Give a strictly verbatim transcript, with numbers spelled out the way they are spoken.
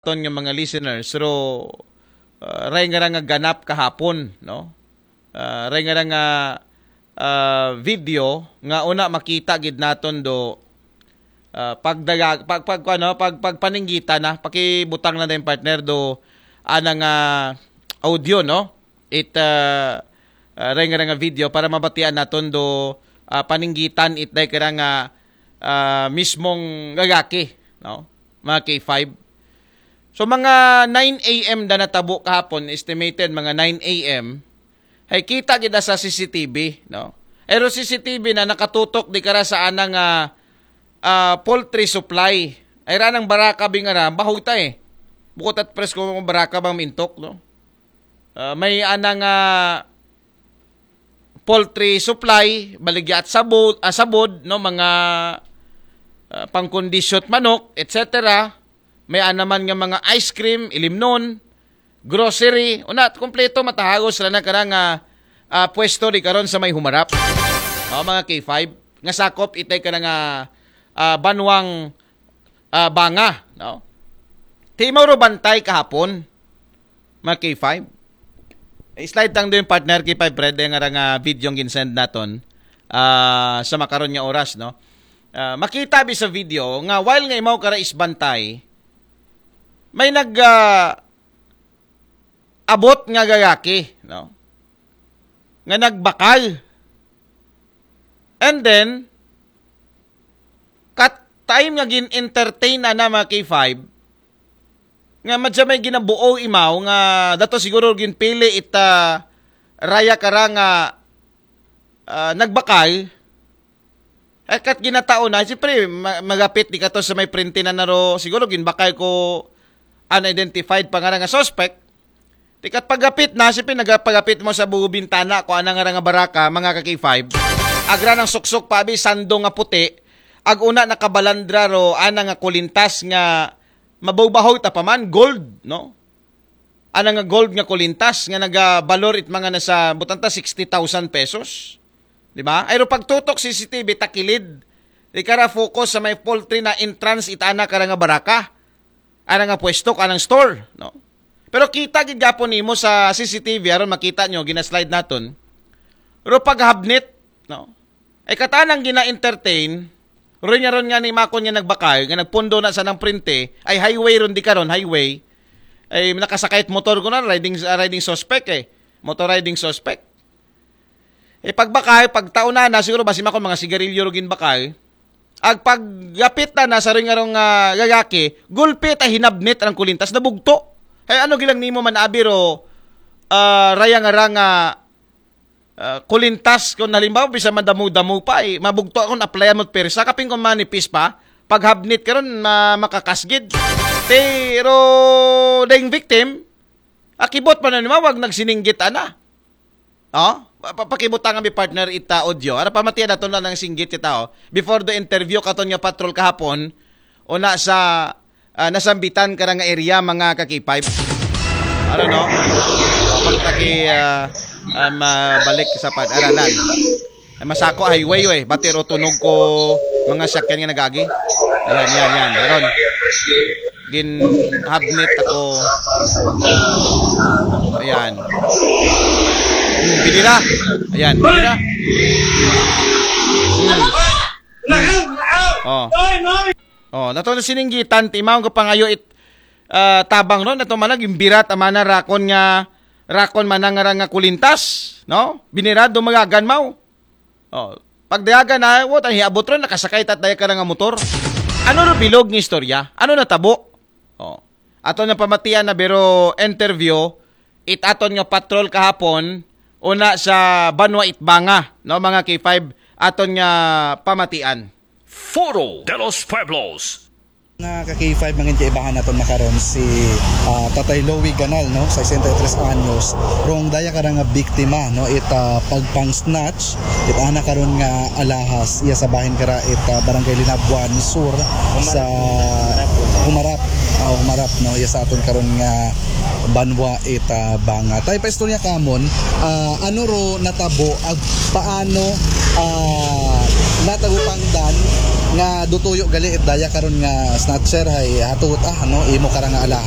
aton nga mga listeners, pero uh, ray nga ra nga ganap kahapon, no? Uh, ray nga ra nga uh, video nga una makita gid naton do uh, pagdaga pag pag ano pag pagpaninggitan na, pakibutang na din, partner, do ana nga audio, no? It uh, uh, ray nga ra nga video para mabatian naton do uh, paninggitan it day kara nga uh, mismong gagaki, no? Mga K five. So mga nine a m da natabo kahapon, estimated mga nine a m. Hay kita gid sa C C T V, no? Pero C C T V na nakatutok di kara sa ana nga ah, poultry supply. Ay ra nang baraka bingara, bahoy ta eh. Bukod at presko mo baraka bang mintok, no? Ah, may ana nga poultry supply, baligya at sabod, ah, sabod, no, mga ah, pangkondisyo't manok, et cetera. May ana man nga mga ice cream, ilimnon, grocery, una, kompleto, matahagos ra na kara nga ah, pwesto di karon sa may humarap. O, mga K five, nga sakop itay ka nga ah, banwang ah, banga, no? Timaw ro bantay kahapon, mga K five. I-slide tang doon, partner, K five Fred, nga ra nga video ang ginsend naton ah, sa makaron nga oras, no? Ah, makita bi sa video nga while nga imaw kara isbantay, may nag ah, abot nga gagaki, no? Nga nagbakal. And then, kat time nga gin-entertain na na mga K five, nga madya may ginabuo imaw nga dato siguro ginpili ita raya kara nga ah, nagbakal, ay kat ginatao na, siyempre, ma- magapit di kato sa may printe na naro, siguro ginbakal ko unidentified pa nga nga suspect. Di kat pagapit na, siyempre, nagapagapit mo sa bugo bintana ko ana nga nga baraka, mga ka K five. Agra ng suksok pa abi, sando nga puti, ag una nakabalandra ro, ana nga kulintas nga mabaw-bahaw ta pa man, gold, no? Ana nga gold nga kulintas nga nagabalor it mga nasa butanta sixty thousand pesos. Di ba? Ayro pagtutok C C T V takilid. Di kara focus sa may poultry na entrance it ana kara nga baraka. Ana nga pwesto, anang store, no? Pero kita gid gapon nimo sa C C T V aron makita nyo, gina-slide naton. Pero paghabnit, no? Ay katanang gina-entertain, ron nga ron nga ni Makon nga nagbakal, nga nagpundo na sa nang printe, ay highway ron di karon, highway. Ay nakasakay motor ko na, riding, ah, riding suspect eh. Motor riding suspect. Eh pagbakal, pagtaon na na, siguro ba si Makon mga sigarilyo ro ginbakal. Ag paggapit na na sa ring arong ah, gagaki, gulpi ta hinabnit ang kulintas na bugto. Ay ano gilang nimo man abiro, ah, raya nga ra nga ah, kulintas kung halimbawa bisa madamo-damo pa eh. Mabugto akong applyan mo persa, kapin kung manipis pa, paghabnit karon ma makakasgid. Pero dayng victim, akibot pa na nimawag nagsininggit ana. Oh? Pa- pa- Pakibutang kami, partner, ita audio. Ara pamatian nato na ng singgit ita, oh. Before the interview katon nga patrol kahapon, una sa ah, nasambitan kara nga area, mga ka-K five. Ano, no? Pagtaki ah, ah, mabalik sa pag-aralan. Ay, masako highway, eh. Batiro tunog ko mga sakyan nga nagagi. Ayan, yan, yan. Aron. Ginhabnit ako. Ayan. Hmm, binira. Ayan, binira. Hmm. Oh. Oh, nato na sininggitan, timaw ko pangayo it ah, tabang ron, nato manag yung birat, amana rakon nga, rakon manang nga, nga kulintas, no? Binirado magagan maw. Oh, pagdayagan na, what, ang hiabot ron, nakasakay tat daya ka na nga motor. Ano ro bilog nga istorya? Ano natabo? Oh. Ato na pamatian na biro interview, it aton nga patrol kahapon, una sa Banwa Itbanga, no, mga K five, aton nga pamatian. Foro de los Pueblos. Nga ka K five, mangin kaibahan naton makaron si ah, Tatay Louie Ganal, no, sesenta y tres anyos. Rong daya kara nga biktima, no, it ah, pagpang-snatch, it ana karon nga alahas, iya sa bahin kara it ah, Barangay Linabuan Sur sa Humarap, ah, Humarap, no, iya sa aton karon nga Banwa Itbanga. Tay, paistorya kamon, ah, ano ro natabo ag paano ah, natabo pangdan Nga do tuyo gali it daya karon nga snatcher hay hatuod, ah, no, imo kara nga alahas.